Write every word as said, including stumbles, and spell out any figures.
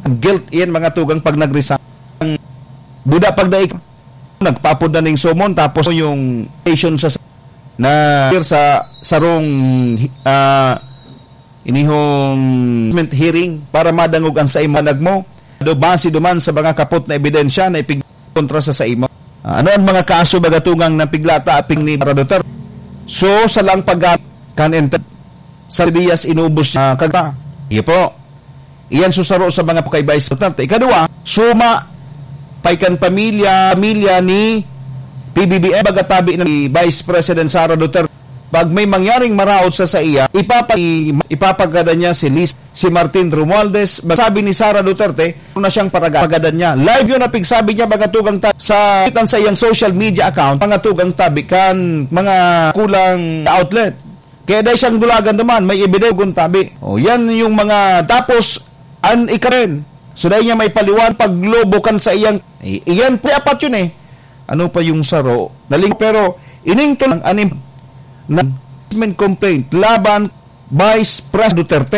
Guilt yan, mga tugang, pag nag-resign. Buda pag daig, nagpaapod na ning summon, tapos yung station sa, na sa sarong, ah, inihong hearing para madangog ang saimo panag mo. Do base duman sa mga kapot na ebidensya na ipig kontra sa saimo. Ah, ano ang mga kaso, mga tugang, na pigla ta aping ni Sara Duterte? So, sa lang pag kan enter sa Diaz inubos niya, kaga. Iyo po. Iyan susaro sa mga kay Vice Duterte. Ikadua, suma pay kan pamilya, pamilya ni P B B M, baga tabi ni Vice President Sara Duterte. Pag may mangyaring maraot sa saiya, ipapa-, ipapagada niya si Liz, si Martin Romualdez. Sabi ni Sara Duterte, na siyang paraga-, pagadan niya. Live yun na pigsabi niya, mga tugang ta-, sa, sa iyang social media account, mga tugang tabi kan mga kulang outlet. Kaya dahil siyang dulagan naman, may ebidensya tabi. O, yan yung mga, tapos, an ikaren. So, dahil niya may paliwan, paglobo kan sa iyang, i-, iyan po, apat yun eh. Ano pa yung saro? Naling, pero, ining tulang anim na complaint laban Vice President Duterte.